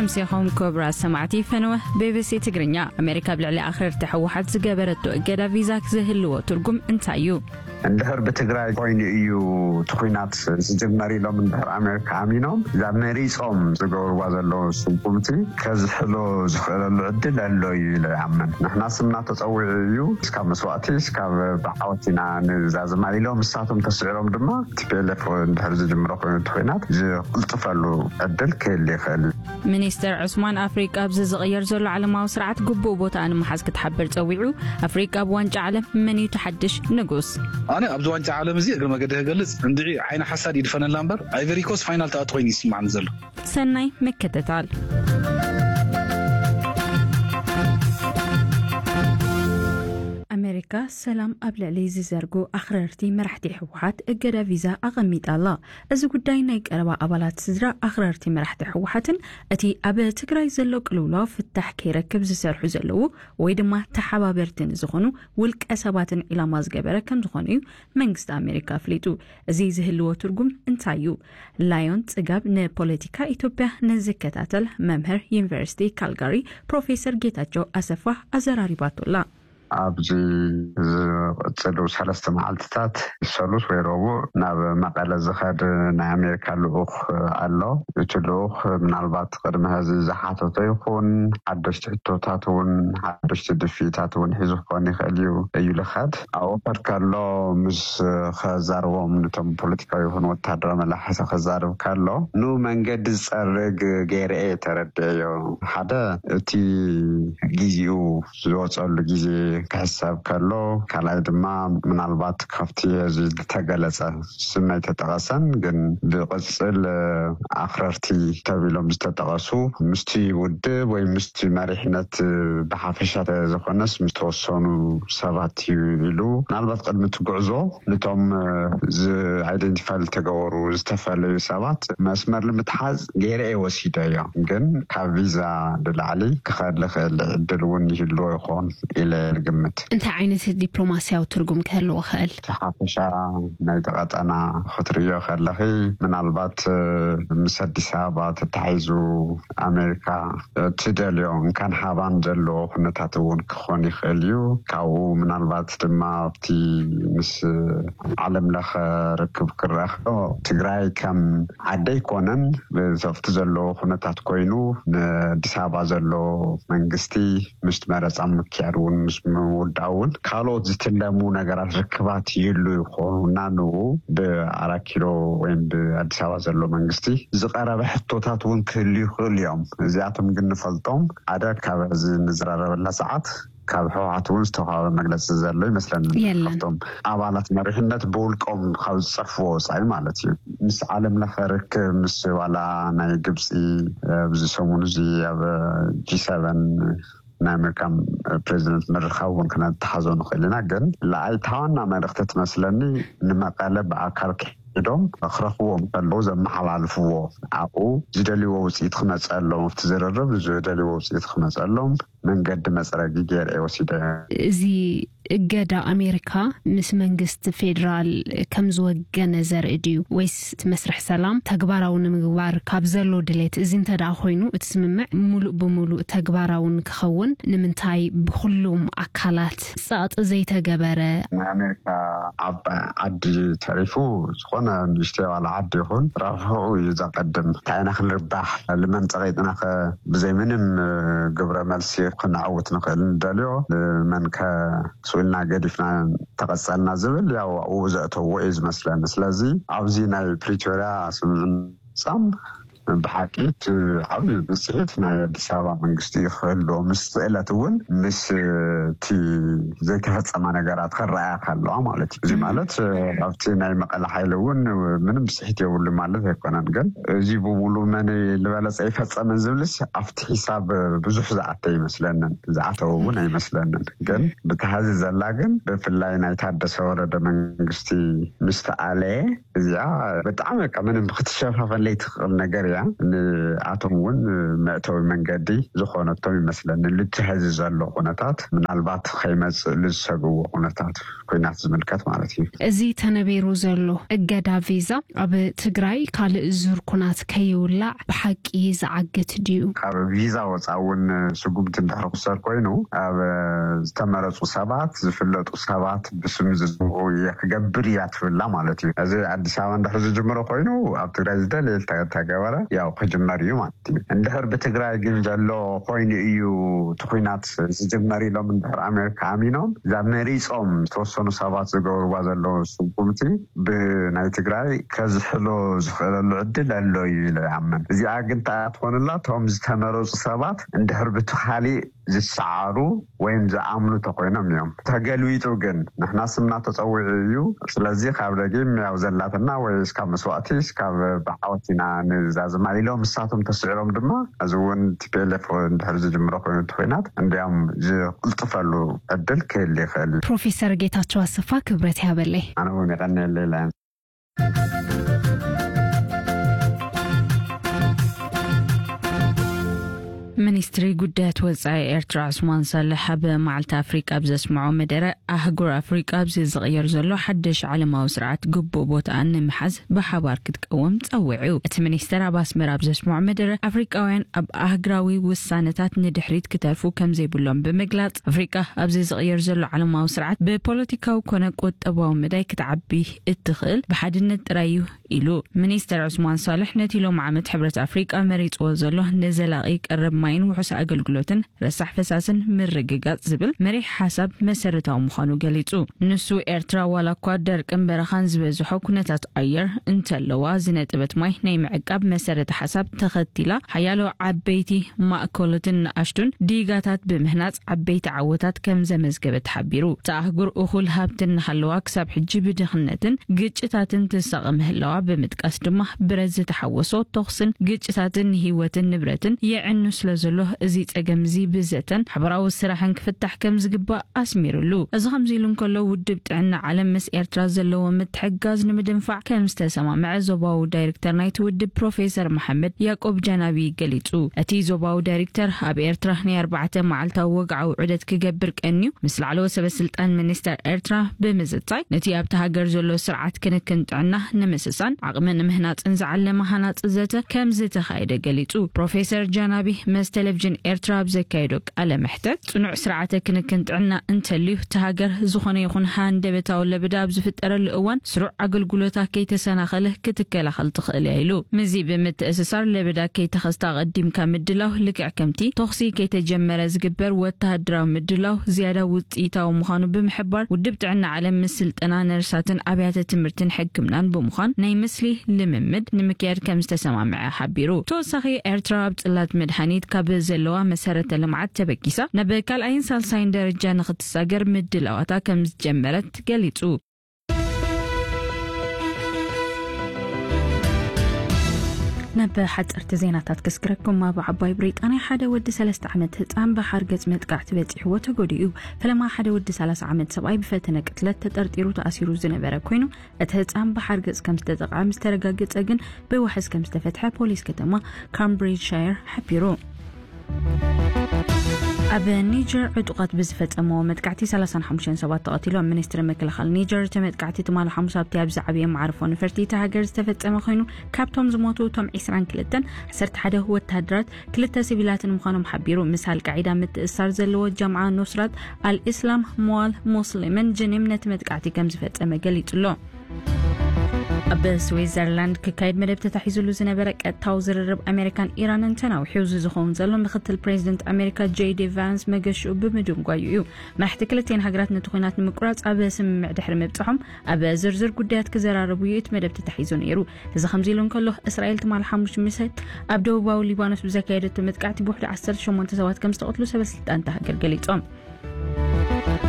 ምሴኹም ክቡራት ሰማዕቲ ፈነወ ቢቢሲ ትግርኛ። ኣሜሪካ ኣብ ልዕሊ ኣኽረርቲ ህወሓት ዝገበረቶ እገዳ ቪዛ ዝህልዎ ትርጉም እንታይ እዩ? እንድሕር ብትግራይ ኮይኑ እዩ እቲ ኩናት ዝጅመር ኢሎም እንድሕር ኣሜሪካ ኣሚኖም እዛ መሪፆም ዝገብርዋ ዘለዉ ስጉምቲ ከዝሕሎ ዝኽእለሉ ዕድል ኣሎ እዩ ኢለ ይኣምን። ንሕና ስምና ተፀዊዑ እዩ እስካብ መስዋእቲ እስካብ ብዓወት ኢና ንዛዝማ ኢሎም ንሳቶም ተስዕሮም ድማ ቲፒኤልኤፍ እንድሕር ዝጅምሮ ኮይኑ እቲ ኩናት ዝቕልጥፈሉ ዕድል ክህል ይኽእል እዩ። ሚኒስተር ዑስማን ኣፍሪቃ ኣብዚ ዝቕየር ዘሎ ዓለማዊ ስርዓት ግቡእ ቦታኣ ንምሓዝ ክትሓብር ጸዊዑ። ኣፍሪቃ ኣብ ዋንጫ ዓለም መን እዩ ተሓድሽ ንጉስ? ኣነ ኣብዚ ዋንጫ ዓለም እዚ እግሪ መገዲ ክገልጽ እንድዒ ዓይኒ ሓሳድ ይድፈነላ እምበር ኣይቨሪኮስ ፋይናል ተኣት ኮይኑ ይስማዕኒ ዘሎ። ሰናይ ምክትታል። ኣሜሪካ ሰላም ኣብ ልዕሊ ዝዘርጉ ኣኽረርቲ መራሕቲ ህወሓት እገዳ ቪዛ ኣቐሚጣ ኣላ። እዚ ጉዳይ ናይ ቀረባ ኣባላት ስድራ ኣኽረርቲ መራሕቲ ህወሓትን እቲ ኣብ ትግራይ ዘሎ ቅልውላው ፍታሕ ከይረክብ ዝሰርሑ ዘለዉ ወይ ድማ ተሓባበርቲ ንዝኾኑ ውልቀ ሰባትን ዒላማ ዝገበረ ከም ዝኾነ እዩ መንግስቲ ኣሜሪካ ኣፍሊጡ። እዚ ዝህልዎ ትርጉም እንታይ እዩ? ላዮን ጽጋብ ንፖለቲካ ኢትዮጵያ ንዝከታተል መምህር ዩኒቨርሲቲ ካልጋሪ ፕሮፌሰር ጌታቸው ኣሰፋ ኣዘራሪባቶላ። ኣብዚ ዝቕፅሉ ሰለስተ መዓልትታት ሰሉስ ወይ ረቡዕ ናብ መቐለ ዝኸድ ናይ ኣሜሪካ ልኡኽ ኣሎ። እቲ ልኡኽ ምናልባት ቅድሚ ሕዚ ዝሓተቶ ይኹን ሓደሽቲ ሕቶታት እውን ሓደሽቲ ድፍኢታት እውን ሒዙ ክኾን ይኽእል እዩ እዩ ልኸድ ኣብኡ ከድ ከሎ ምስ ከዛርቦም ነቶም ፖለቲካዊ ይኹን ወታደራዊ መላሕቲ ከዛርብ ከሎ ንመንገዲ ዝፀርግ ገይረ እየ ተረድኤዮ። ሓደ እቲ ግዚኡ ዝወፀሉ ግዜ ክሕሰብ ከሎ ካልኣይ ድማ ምናልባት ካብቲ እዚ ዝተገለፀ ስም ኣይተጠቐሰን ግን ብቕፅል ኣኽረርቲ ተቢሎም ዝተጠቐሱ ምስቲ ውድብ ወይ ምስቲ መሪሕነት ብሓፈሻ ተዘኾነስ ምስተወሰኑ ሰባት እዩ ኢሉ ምናልባት ቅድሚ እቲ ጉዕዞ ነቶም ዝኣይደንቲፋይ ዝተገበሩ ዝተፈላለዩ ሰባት መስመር ንምትሓዝ ገይረ እየ ወሲደ እዮ ግን ካብ ቪዛ ንላዕሊ ክኸድ ልኽእል ዕድል እውን ይህልዎ ይኾን ኢለ ንግምት። እንታይ ዓይነት ዲፕሎማስያዊ ትርጉም ክህልዎ ክእል? ሓፈሻ ናይ ተቐጠና ክትርእዮ ከለኺ ምናልባት ምስ ኣዲስ ኣበባ ተታሒዙ ኣሜሪካ ትደልዮ እንካን ሃባን ዘለዎ ኩነታት እውን ክኾን ይኽእል እዩ። ካብኡ ምናልባት ድማ ኣብቲ ምስ ዓለም ለኸ ርክብ ክረኽቦ ትግራይ ከም ዓደ ኣይኮነን ብሰፍቲ ዘለዎ ኩነታት ኮይኑ ንኣዲስ ኣበባ ዘሎ መንግስቲ ምስ መረፃ ምክያድ እውን ምስ ምውዳእ እውን ካልኦት ዝትለሙ ነገራት ርክባት ይህሉ ይኾኑና ንኡ ብኣራት ኪሎ ወይም ብኣዲስ ኣበባ ዘሎ መንግስቲ ዝቐረበ ሕቶታት እውን ክህሉ ይኽእሉ እዮም። እዚኣቶም ግን ንፈልጦም ሓደ ካብ እዚ ንዝራረበላ ሰዓት ካብ ህወሓት እውን ዝተዋሃበ መግለፂ ዘሎ ይመስለኒ። ካብቶም ኣባላት መሪሕነት ብውልቆም ካብ ዝፀፍዎ ወፃኢ ማለት እዩ። ምስ ዓለም ለኸ ርክብ ምስ ዋላ ናይ ግብፂ ኣብዚ ሰሙን እዚ ኣብ ጂ ሰቨን ናይ ኣሜሪካ ፕሬዚደንት ምርኻብ እውን ክነተሓዞ ንኽእል ኢና። ግን ለኣይ ታዋና መልእክቲ ትመስለኒ ንመቐለ ብኣካል ኪዶም ክረኽብዎም ከለዉ ዘመሓላልፍዎ ኣብኡ ዝደልይዎ ውፅኢት ክመፀሎም ኣብቲ ዝርርብ ዝደልይዎ ውፅኢት ክመፀሎም መንገዲ መፅረጊ ገይረ ወሲደ። እዚ እገዳ ኣሜሪካ ምስ መንግስቲ ፌዴራል ከም ዝወገነ ዘርኢ ድዩ ወይስ እቲ መስርሕ ሰላም ተግባራዊ ንምግባር ካብ ዘሎ ድሌት እዚ እንተ ደኣ ኮይኑ እቲ ስምምዕ ሙሉእ ብሙሉእ ተግባራዊ ንክኸውን ንምንታይ ብኩሉም ኣካላት ጸቕጢ ዘይተገበረ? ናይ ኣሜሪካ ዓባይ ዓዲ ተሪፉ ዝኾነ ንእሽተይ ዋላ ዓዲ ይኹን ረብሕኡ እዩ ዘቐድም። እንታይ ኢና ክንርባሕ ልመን ጸቒጥናኸ ብዘይ ምንም ግብረ መልሲ ክነዕውት ንኽእል ንደልዮ ልመንከ ስኢልና ገዲፍና ተቐጸልና ዝብል ያው ኣብኡ ዘእተዎ እዩ ዝመስለኒ። ስለዚ ኣብዚ ናይ ፕሪቶርያ ስምምዕ ምፍጻም ብሓቂ እቲ ዓብዪ ብፅሒት ናይ ኣዲስ ኣበባ መንግስቲ እዩ ክህልዎ ምስ ስእለት እውን ምስ እቲ ዘይተፈፀማ ነገራት ክረኣያ ከለዋ ማለት እዩ። እዚ ማለት ኣብቲ ናይ መቐለ ሓይሊ እውን ምንም ብፅሒት የብሉ ማለት ኣይኮነን። ግን እዚ ብሙሉ መን ዝበለፀ ይፈፀምን ዝብልስ ኣብቲ ሒሳብ ብዙሕ ዝኣተ ይመስለንን ዝኣተወ እውን ኣይመስለንን። ግን ብተሃዚ ዘላ ግን ብፍላይ ናይ ታደሰ ወረደ መንግስቲ ምስ ተኣለየ እዚኣ ብጣዕሚ በቃ ምንም ክትሸፋፈን ለይትኽእል ነገር እያ። ንኣቶም እውን መእተዊ መንገዲ ዝኾነቶም ይመስለኒ። ልትሕዚ ዘሎ ኩነታት ምናልባት ከይመጽእ ልዝሰግዎ ኩነታት ኩናት ዝምልከት ማለት እዩ። እዚ ተነቢሩ ዘሎ እገዳ ቪዛ ኣብ ትግራይ ካልእ ዙር ኩናት ከይውላዕ ብሓቂ ዝዓግት ድዩ? ካብ ቪዛ ወፃ እውን ስጉምቲ እንድሕር ክውሰድ ኮይኑ ኣብ ዝተመረፁ ሰባት ዝፍለጡ ሰባት ብስም ዝዝምኡ እየ ክገብር እያ ትብላ ማለት እዩ። እዚ ኣዲስ ኣበባ እንድሕር ዝጅምሮ ኮይኑ ኣብ ትግራይ ዝደለየ ተገበረ ያው ክጅመር እዩ ማለት እዩ። እንድሕር ብትግራይ ግን ዘሎ ኮይኑ እዩ እቲ ኩናት ዝጅመር ኢሎም እንድሕር ኣሜሪካ ኣሚኖም እዛ መሪፆም ዝተወሰኑ ሰባት ዝገብርዋ ዘለዉ ስጉምቲ ብናይ ትግራይ ከዝሕሎ ዝኽእለሉ ዕድል ኣሎ እዩ ኢለ ይኣምን። እዚኣ ግን እንታይ እያ ትኾንላ? እቶም ዝተመረፁ ሰባት እንድሕር ብቲ ካሊእ ዝሰዓሩ ወይም ዝኣምኑ ተኮይኖም እዮም። ተገልቢጡ ግን ንሕና ስምና ተፀዊዑ እዩ። ስለዚ ካብ ደጊም ያው ዘላትና ወይ እስካብ መስዋእቲ እስካብ ብዓወት ኢና ንዛዝማ ኢሎም እሳቶም ተስዕሮም ድማ እዚ እውን ቲ ፒ ኤል ኤፍ እንድሕር ዝጅምሮ ኮይኑ እቲ ኩናት እንዲያውም ዝቅልጥፈሉ ዕድል ክህል ይኽእል እዩ። ፕሮፌሰር ጌታቸው ኣሰፋ ክብረት ያበለይ። ኣነ እውን የቀንየለይ ኢለ። ሚኒስትሪ ጉዳያት ወጻኢ ኤርትራ ዑስማን ሳልሕ ኣብ መዓልቲ ኣፍሪቃ ኣብ ዘስምዖ መደረ ኣህጉር ኣፍሪቃ ኣብዚ ዝቕየር ዘሎ ሓድሽ ዓለማዊ ስርዓት ግቡእ ቦታኣን ንምሓዝ ብሓባር ክትቀውም ጸዊዑ። እቲ ሚኒስተር ኣብ ኣስመራ ኣብ ዘስምዖ መደረ ኣፍሪቃውያን ኣብ ኣህግራዊ ውሳነታት ንድሕሪት ክተርፉ ከም ዘይብሎም ብምግላጽ ኣፍሪቃ ኣብዚ ዝቕየር ዘሎ ዓለማዊ ስርዓት ብፖለቲካዊ ኮነ ቁጠባዊ መዳይ ክትዓቢ እትኽእል ብሓድነት ጥራይ እዩ ኢሉ። ሚኒስተር ዑስማን ሳልሕ ነቲ ሎም ዓመት ሕብረት ኣፍሪቃ መሪጽዎ ዘሎ ንዘላቒ ቀረብ ማይን ውሑስ ኣገልግሎትን ረሳሕ ፈሳስን ምርግጋጽ ዝብል መሪሕ ሓሳብ መሰረታዊ ምዃኑ ገሊጹ። ንሱ ኤርትራ ዋላ እኳ ደርቅን በረኻን ዝበዝሖ ኩነታት ኣየር እንተለዋ ዝነጥበት ማይ ናይ ምዕቃብ መሰረተ ሓሳብ ተኸቲላ ሓያሎ ዓበይቲ ማእከሎትን ንኣሽቱን ዲጋታት ብምህናጽ ዓበይቲ ዓወታት ከም ዘመዝገበት ሓቢሩ። እታ ኣህጉር እኹል ሃብቲ እናሃለዋ ክሳብ ሕጂ ብድኽነትን ግጭታትን ትሳቐ ምህላዋ ብምጥቃስ ድማ ብረት ዝተሓወሶ ተኹስን ግጭታትን ንህይወትን ንብረትን የዕኑ ስለ ዘሎ እዚ ጸገም እዚ ብዘተን ሓበራዊ ስራሕን ክፍታሕ ከም ዝግባእ ኣስሚሩሉ። እዚ ከምዚ ኢሉ እንከሎ ውድብ ጥዕና ዓለም ምስ ኤርትራ ዘለዎ ምትሕግጋዝ ንምድንፋዕ ከም ዝተሰማምዐ ዞባዊ ዳይሬክተር ናይቲ ውድብ ፕሮፌሰር መሓመድ ያቆብ ጃናቢ ገሊጹ። እቲ ዞባዊ ዳይሬክተር ኣብ ኤርትራ ናይ ኣርባዕተ መዓልታዊ ወግዓዊ ዑደት ክገብር ቀንዩ ምስ ላዕለዎት ሰበ ስልጣን ሚኒስተር ኤርትራ ብምዝታይ ነቲ ኣብቲ ሃገር ዘሎ ስርዓት ክንክን ጥዕና ንምስሳን ዓቕሚ ንምህናጽን ዝዓለመ ሃናጺ ዘተ ከም ዝተኻየደ ገሊጹ። ፕሮፌሰር ጃናቢ ምስ ቴሌቪዥን ኤርትራ ኣብ ዘካየዶ ቃለ መሕተት ጽኑዕ ስርዓተ ክንክን ጥዕና እንተልዩ እቲ ሃገር ዝኾነ ይኹን ሃንደበታዊ ለበዳ ኣብ ዝፍጠረሉ እዋን ስሩዕ ኣገልግሎታ ከይተሰናኸለ ክትከላኸል ትኽእል እያ ኢሉ። ምስዚ ብምትእስሳር ለበዳ ከይተኸስተ ኣቐዲምካ ምድላው ልክዕ ከምቲ ተኹሲ ከይተጀመረ ዝግበር ወተሃደራዊ ምድላው ዝያዳ ውፅኢታዊ ምዃኑ ብምሕባር ውድብ ጥዕና ዓለም ምስ ስልጠና ነርሳትን ኣብያተ ትምህርትን ሕክምናን ብምዃን ናይ ምስሊ ልምምድ ንምክያድ ከም ዝተሰማምዐ ሓቢሩ። ተወሳኺ ኤርትራ ኣብ ጽላት መድሃኒት ካብ ዘለዋ መሰረተ ልምዓት ተበጊሳ ናብ ካልኣይን ሳልሳይን ደረጃ ንኽትሳገር ምድላዋታ ከም ዝጀመረት ገሊጹ። ናብ ሓፀርቲ ዜናታት ክስክረኩም። ኣብ ዓባይ ብሪጣንያ ሓደ ወዲ ሰለስተ ዓመት ህፃን ብሓርገፅ መጥቃዕቲ በፂሕዎ ተጎዲኡ። ፈለማ ሓደ ወዲ ሰላሳ ዓመት ሰብኣይ ብፈተነ ቅትለት ተጠርጢሩ ተኣሲሩ ዝነበረ ኮይኑ እቲ ህፃን ብሓርገፅ ከም ዝተጠቕዐ ምስ ተረጋገፀ ግን ብዋሕስ ከም ዝተፈትሐ ፖሊስ ከተማ ካምብሪጅሻየር ሓቢሩ። ኣብ ኒጀር ዕጡቓት ብዝፈጸምዎ መጥቃዕቲ ሰላሳን ሓሙሽተን ሰባት ተቐቲሎም። ሚኒስትሪ ምክልኻል ኒጀር እቲ መጥቃዕቲ ትማሊ ሓሙስ ኣብቲ ኣብ ዝዓበየ መዓርፎ ነፈርቲ እታ ሃገር ዝተፈጸመ ኮይኑ ካብቶም ዝሞቱ እቶም ዒስራን ክልተን ዓሰርተ ሓደ ወታደራት ክልተ ሲቪላትን ምዃኖም ሓቢሩ። ምስ ኣልቃዒዳ ምትእስሳር ዘለዎ ጀምዓ ኑስራት ኣልኢስላም መዋል ሙስሊምን ጅኒም ነቲ መጥቃዕቲ ከም ዝፈጸመ ገሊጹ ኣሎ። ኣብ ስዊዘርላንድ ክካየድ መደብ ተታሒዙሉ ዝነበረ ቀጥታዊ ዝርርብ ኣሜሪካን ኢራንን ተናዊሑ። እዚ ዝኸውን ዘሎ ምክትል ፕሬዚደንት ኣሜሪካ ጄ ዲ ቫንስ መገሽኡ ብምድንጓዩ እዩ። መራሕቲ ክልቲኤን ሃገራት ነቲ ኲናት ንምቁራፅ ኣብ ስምምዕ ድሕሪ ምብፅሖም ኣብ ዝርዝር ጉዳያት ክዘራረቡ እዩ እቲ መደብ ተታሒዙ ነይሩ። እዚ ከምዚ ኢሉ እንከሎ እስራኤል ትማሊ ሓሙስ ምሸት ኣብ ደቡባዊ ሊባኖስ ብዘካየደቶ መጥቃዕቲ ብውሕዱ ዓሰርተ ሸሞንተ ሰባት ከም ዝተቐትሉ ሰበስልጣን እታ ሃገር ገሊፆም።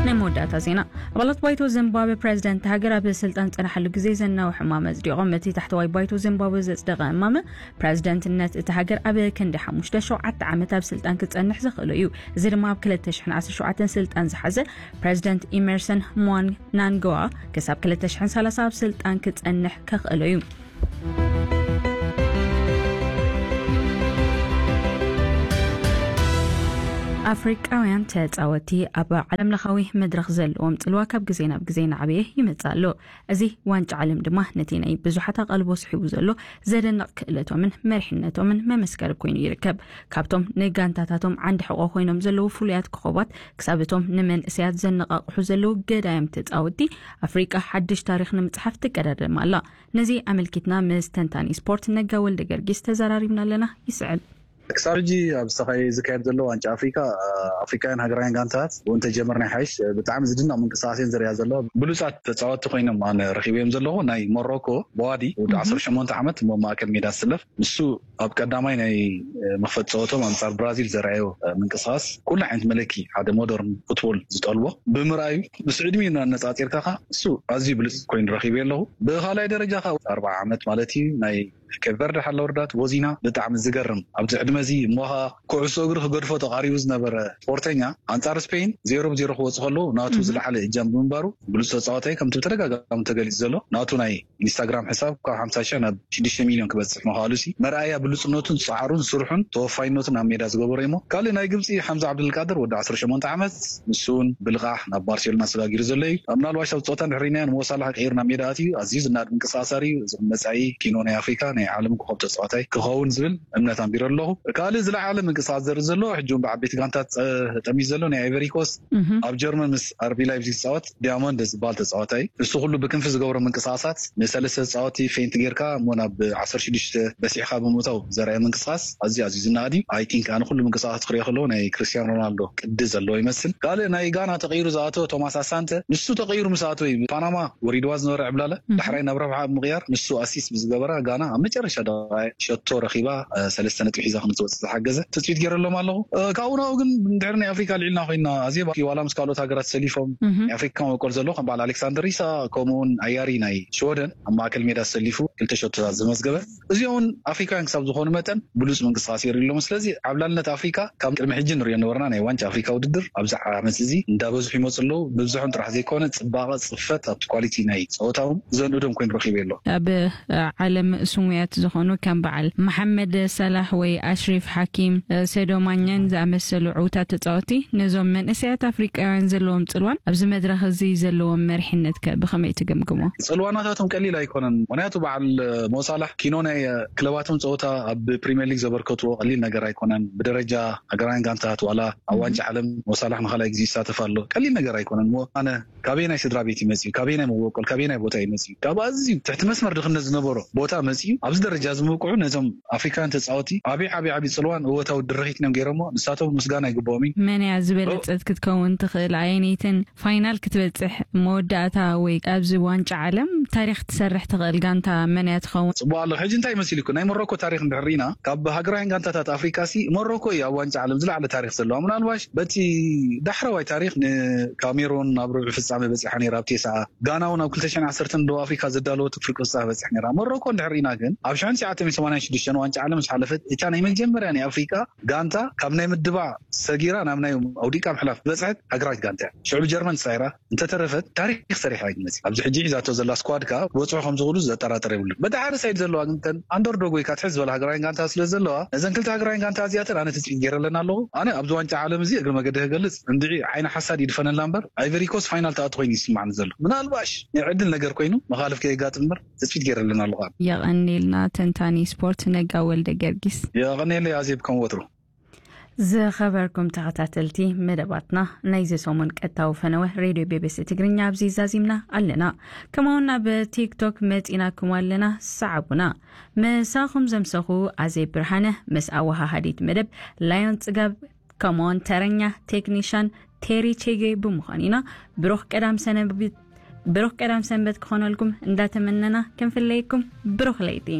ናይ መወዳእታ ዜና። ኣባላት ባይቶ ዚምባብዌ ፕሬዚደንት ሃገር ኣብ ስልጣን ዝጸንሓሉ ግዜ ዘናውሕ እማመ ኣጽዲቖም። እቲ ታሕተዋይ ባይቶ ዚምባብዌ ዘጽደቐ እማመ ፕሬዚደንትነት እታ ሃገር ኣብ ክንዲ ሓሙሽተ ሸውዓተ ዓመት ኣብ ስልጣን ክጸንሕ ዘኽእሎ እዩ። እዚ ድማ ኣብ ክልተ ሽሕን ዓሰርተ ሸውዓተን ስልጣን ዝሓዘ ፕሬዚደንት ኢመርሰን ምናንጋዋ ክሳብ ክልተ ሽሕን ሰላሳ ኣብ ስልጣን ክጸንሕ ከኽእሎ እዩ። ኣፍሪቃውያን ተጻወትቲ ኣብ ዓለምለኻዊ መድረኽ ዘለዎም ጽልዋ ካብ ግዜ ናብ ግዜ እናዓበየ ይመጽእ ኣሎ። እዚ ዋንጫ ዓለም ድማ ነቲ ናይ ብዙሓት ኣቓልቦ ስሒቡ ዘሎ ዘደንቕ ክእለቶምን መሪሕነቶምን መመስከሪ ኮይኑ ይርከብ። ካብቶም ንጋንታታቶም ዓንዲ ሕቖ ኮይኖም ዘለዉ ፍሉያት ኮኸባት ክሳብ እቶም ንመንእሰያት ዘነቓቕሑ ዘለዉ ገዳይም ተጻወትቲ፣ ኣፍሪቃ ሓድሽ ታሪኽ ንምጽሓፍ ትቀዳደም ኣላ። ነዚ ኣመልኪትና ምስ ተንታኒ ስፖርት ነጋ ወልደ ገርጊስ ተዘራሪብና ኣለና። ይስዕብ። ክሳብ ሕጂ ኣብ ዝተኻየ-፣ ዝካየድ ዘሎ ዋንጫ ኣፍሪካ፣ ኣፍሪካውያን ሃገራውያን ጋንታት እውን ተጀመርና ይሓይሽ። ብጣዕሚ ዝድነቕ ምንቅስቃስ እየን ዘርእያ ዘለዋ። ብሉጻት ተጻወትቲ ኮይኖም ኣነ ረኺበዮም ዘለኹ ናይ ሞሮኮ በዋዲ፣ ወዲ ዓሰርተ ሸሞንተ ዓመት፣ እሞ ማእከል ሜዳ ዝስለፍ፣ ንሱ ኣብ ቀዳማይ ናይ መኽፈት ጸወቶም ኣንጻር ብራዚል ዘርኣዮ ምንቅስቃስ፣ ኩሉ ዓይነት መለኪ ሓደ ሞደርን ፉትቦል ዝጠልቦ ብምርኣዩ፣ ምስ ዕድሚኡ እናነጻጺርካ ከኣ እሱ ኣዝዩ ብሉጽ ኮይኑ ረኺበዮ ኣለኹ። ብኻልኣይ ደረጃ ከኣ ኣርባዓ ዓመት ማለት እዩ፣ ናይ ኬፕ ቨርደ ሓላ ወርዳት ወዚና፣ ብጣዕሚ ዝገርም ኣብዚ ዕድመ እዚ እሞ ኸኣ ኩዕሶ እግሪ ክገድፎ ተቓሪቡ ዝነበረ ስፖርተኛ ኣንጻር ስፔን ዜሮ ብዜሮ ክወጽእ ከለዉ ናቱ ዝለዓለ እጃም ብምንባሩ ብሉጽ ተጻዋታይ ከምቲ ብተደጋጋሚ ተገሊጹ ዘሎ ናቱ ናይ ኢንስታግራም ሕሳብ ካብ ሓምሳ ሽሕ ናብ ሽዱሽተ ሚልዮን ክበጽሕ ምዃሉ ሲ መርኣያ ብሉጽነቱን ጻዕሩን ስርሑን ተወፋይነቱን ኣብ ሜዳ ዝገበሮ እሞ ካልእ ናይ ግብጺ ሓምዛ ዓብዱልቃድር ወዲ ዓሰርተ ሸሞንተ ዓመት ንሱ እውን ብልቓሕ ናብ ባርሴሎና ሰጋጊሩ ዘሎ እዩ። ምናልባሽ ኣብ ጸወታ እንድሕር ርኢናዮ ንሞሳላሕ ቀይሩ ናብ ሜዳ ኣትዩ ኣዝዩ ዝናድ ምንቅስቃስ ኣርእዩ እዚ መጻኢ ኪኖ ናይ ኣፍሪካ ናይ ዓለም ኮኸብ ተጻዋታይ ክኸውን ዝብል እምነት ኣንቢረ ኣለኹ። ካልእ ዝለዓለ ምንቅስቃስ ዘርኢ ዘሎ ሕጂ እውን ብዓበይቲ ጋንታት ጸ-፣ ጠሚዩ ዘሎ ናይ ኣይቨሪ ኮስት ኣብ ጀርመን ምስ ኣርቢ ላይፕዚግ ዝጻወት ዲያሞንድ ዝበሃል ተጻዋታይ እዩ። እሱ ኩሉ ብክንፊ ዝገብሮ ምንቅስቃሳት ንሰለስተ ተጻወቲ ፌንት ጌርካ እሞ ናብ ዓሰርተ ሽዱሽተ በሲሕካ ብምእታው ዘርኣየ ምንቅስቃስ ኣዝዩ ኣዝዩ ዝነኣድ እዩ። ኣይ ቲንክ ኣነ ኩሉ ምንቅስቃሳት ክሪኦ ከለዎ ናይ ክርስቲያኖ ሮናልዶ ቅዲ ዘለዎ ይመስል። ካልእ ናይ ጋና ተቐይሩ ዝኣተወ ቶማስ ኣሳንተ ንሱ ተቐይሩ ምስ ኣተወ እዩ ፓናማ ወሪድዋ ዝነበረ ዕብላለ ዳሕራይ ናብ ረብሓ ብምቕያር ንሱ ኣሲስት ብዝገበራ ጋና ኣብ መጨረሻ ደቂቕ ሸቶ ረኺባ፣ እ፣ ሰለስተ ነጥቢ ሒዛ ከምትወጽእ ዝሓገዘ ትጽቢት ገይረሎም ኣለኹ። እ፣ ካብኡ ናብኡ ግን እንድሕር ናይ ኣፍሪካ ልዒልና ኮይና ኣዜባ ዋላ ምስ ካልኦት ሃገራት ሰሊፎም ናይ ኣፍሪካ መበቆል ዘለዎ ከም በዓል ኣሌክሳንደር ኢሳቅ ከምኡውን ኣያሪ ናይ ሽወደን ኣብ ማእከል ሜዳ ሰሊፉ ክልተ ሸቶታት ዘመዝገበ እዚኦም እውን ኣፍሪካውያን ክሳብ ዝኾኑ መጠን ብሉጽ ምንቅስቃስ የርእዩ ኣለዉ። ስለዚ ዓብላልነት ኣፍሪካ ካብ ቅድሚ ሕጂ ንሪኦ ነበርና ናይ ዋንጫ ኣፍሪካ ውድድር ኣብዚ ዓመት እዚ እንዳበዝሑ ይመፁ ኣለዉ። ብብዝሖም ጥራሕ ዘይኮነ ፅባቐ ፅፈት ኣብቲ ኳሊቲ ናይ ፀወታ እውን ዘንእዶም ኮይኑ ረኺበ ኣሎ። ኣብ ዓለም ስሙያት ዝኾኑ ከም በዓል መሓመድ ሰላሕ ወይ ኣሽሪፍ ሓኪም፣ ሰዶ ማኛን ዝኣመሰሉ ዕውታት ተፃወቲ ነዞም መንእሰያት ኣፍሪቃውያን ዘለዎም ፅልዋን ኣብዚ መድረኽ እዚ ዘለዎም መሪሕነት ከ ብኸመይ ትግምግሞ? ፅልዋናታቶም ቀሊል ኣይኮነን። ምክንያቱ በዓል ሞሳላሕ ኪኖ ናይ ክለባቶም ፀወታ ኣብ ፕሪምየር ሊግ ዘበርከትዎ ቀሊል ነገር ኣይኮነን። ብደረጃ ሃገራውያን ጋንታት ዋላ ኣብ ዋንጫ ዓለም ሞሳላሕ ንኻልኣይ ግዜ ይሳተፍ ኣሎ። ቀሊል ነገር ኣይኮነን። እሞ ኣነ ካበየናይ ስድራ ቤት ይመጽእ፣ ካበየናይ መበቆል፣ ካበየናይ ቦታ ይመጽእ፣ ካብ ኣዝዩ ትሕቲ መስመር ድኽነት ዝነበሮ ቦታ መጽኡ ኣብዚ ደረጃ ዝምብቅዑ ነዞም ኣፍሪካውያን ተጻወቲ ዓቢ ዓቢ ዓቢ ጽልዋን እወታዊ ድርኺትን እዮም ገይሮሞ። ንሳቶም ምስጋና ይግብኦም እዩ። መን እያ ዝበለጸት ክትከውን ትኽእል? ኣየነይትን ፋይናል ክትበጽሕ መወዳእታ ወይ ኣብዚ ዋንጫ ዓለም ታሪኽ ትሰርሕ ትኽእል ጋንታ መን እያ ትኸውን? ጽቡቕ ኣሎ። ሕጂ እንታይ መሲሉኩም? ናይ ሞሮኮ ታሪኽ እንድሕር ርኢና፣ ካብ ሃገራውያን ጋንታታት ኣፍሪካ ሲ ሞሮኮ እዩ ኣብ ዋንጫ ዓለም ዝለዓለ ታሪኽ ዘለዋ። ምናልባሽ በቲ ዳሕረዋይ ታሪኽ ንካሜሩን ናብ ርብዒ ፍጻመ በጺሓ ነይራ ኣብ ቴስዓ። ጋና እውን ኣብ ክልተ ሽሕን ዓሰርተን ደቡብ ኣፍሪካ ዘዳለወት ፍርቂ ፍጻመ በጺሓ ነይራ። ሞሮኮ እንድሕር ርኢና ግን ኣብ ሽሕን ትሽዓተ ሚእትን ሰማንያን ሽዱሽተን ዋንጫ ዓለም ምስ ሓለፈት እታ ናይ መጀመርያ ናይ ኣፍሪካ ጋንታ ካብ ናይ ምድባ ሰጊራ ናብ ናይ ኣውዲቃ ምሕላፍ ዝበጽሐት ሃገራዊት ጋንታ እያ። ሽዑ ብጀርመን ተሳዒራ እንተተረፈት ታሪኽ ሰሪሓ እዩ ዝመጽእ። ኣብዚ ሕጂ ሒዛቶ ዘላ ስኳድ ከኣ ክበጽሑ ከም ዝኽእሉ ዘጠራጥር የብሉን። በቲ ሓደ ሳይድ ዘለዋ ግን እተን ኣንደርዶግ ወይ ከዓ ትሕት ዝበላ ሃገራውያን ጋንታ ስለ ዘለዋ ነዘን ክልተ ሃገራውያን ጋንታ እዚኣተን ኣነ ትጽቢት ገይረለን ኣለኹ። ኣነ ኣብዚ ዋንጫ ዓለም እዚ እግሪ መገዲ ክገልጽ እንድዒ ዓይኒ ሓሳድ ይድፈነላ እምበር ኣይቨሪ ኮስት ፋይናል ትኣቱ ኮይኑ ይስማዕኒ ዘሎ። ምናልባሽ ናይ ዕድል ነገር ኮይኑ መኻልፍ ከየጋጥም እምበር ትጽቢት ገይረለን ኣለኹ። የቐኔልና ተንታኒ ስፖርት ነጋ ወልደ ገርጊስ። የቐኔለይ ኣዜብ ከም ወትሩ። ዝኸበርኩም ተኸታተልቲ መደባትና፣ ናይዚ ሰሙን ቀጥታዊ ፈነወ ሬድዮ ቢ ቢ ሲ ትግርኛ ኣብዚ ዛዚምና ኣለና። ከምኡውን ኣብ ቲክቶክ መጺናኩም ኣለና፣ ሰዓቡና። ምሳኹም ዘምሰኹ ኣዜብ ብርሃነ፣ ምስ ኣወሃሃዲት መደብ ላዮን ጽጋብ፣ ከምኡውን ተረኛ ቴክኒሻን ቴሪ ቼጌ ብምዃን ኢና። ብሩኽ ቀዳም ሰነብት-፣ ብሩኽ ቀዳም ሰንበት ክኾነልኩም እንዳተመነና ክንፍለየኩም። ብሩኽ ለይቲ።